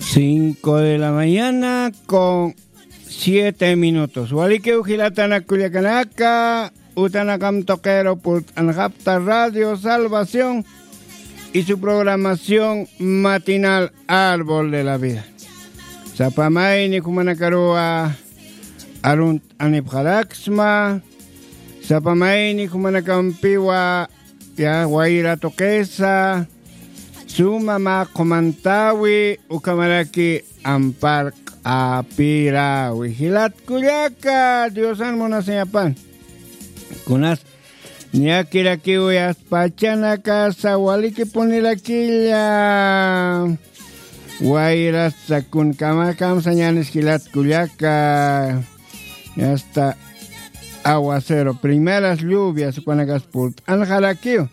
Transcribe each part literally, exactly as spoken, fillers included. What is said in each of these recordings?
Cinco de la mañana con siete minutos. Walikiw jilatanak kullakanaka, utanakam tuqiru purt'anxapxta Radio Salvación y su programación matinal Árbol de la Vida. Sapamayni jumanakaruwa arunt'anipxaraksma, sapamayni jumanakampiwa ya wayra tuqisa, suma mä qhumantäwi, ukhamaraki ampar q'apirawi. Jilat kullaka, Diosan munasiñapan. Kunas ñakirakiw yasta pachanakasa walikipunirakilla. Wayrasa kunkamakamsa ñanis jilat kullaka. Yasta aguacero, primeras lluvias, ukanakas purt'anxarakiw.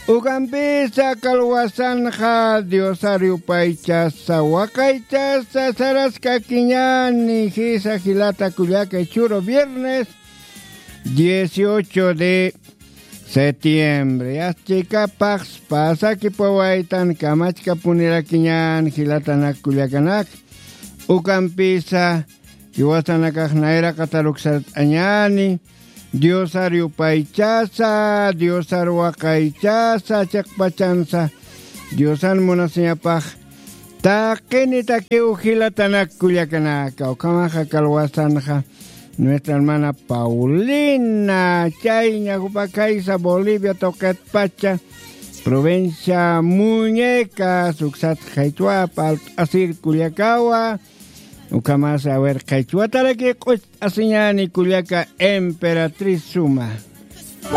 Ukampisa kalwasanxa Diosar yupaychasa, waqaychasa saraskakiñäni, jisa jilata kullaka, churu viernes dieciocho de septiembre. Yasta chikapax pasakipawaytan kamachkapunirakiñän jilatanak kullakanak. Ukampisa jiwasanakax nayraqatar uksart'añäni, Diosar yupaychasa, Diosar waqaychasa, chiqpachansa Diosan munasiñapax taqinitakiw jilatanak kullakanaka. Ukhamaxa kalwasanxa nuestra hermana Paulina, chayña jupa khaysa Bolivia tuqitpacha, provincia Muñecas, uksat qhichwa parlt'asir kullakawa. Ukhamasa, a ver, qhichwataraki q'ucht'asiñäni kullaka Emperatriz Suma.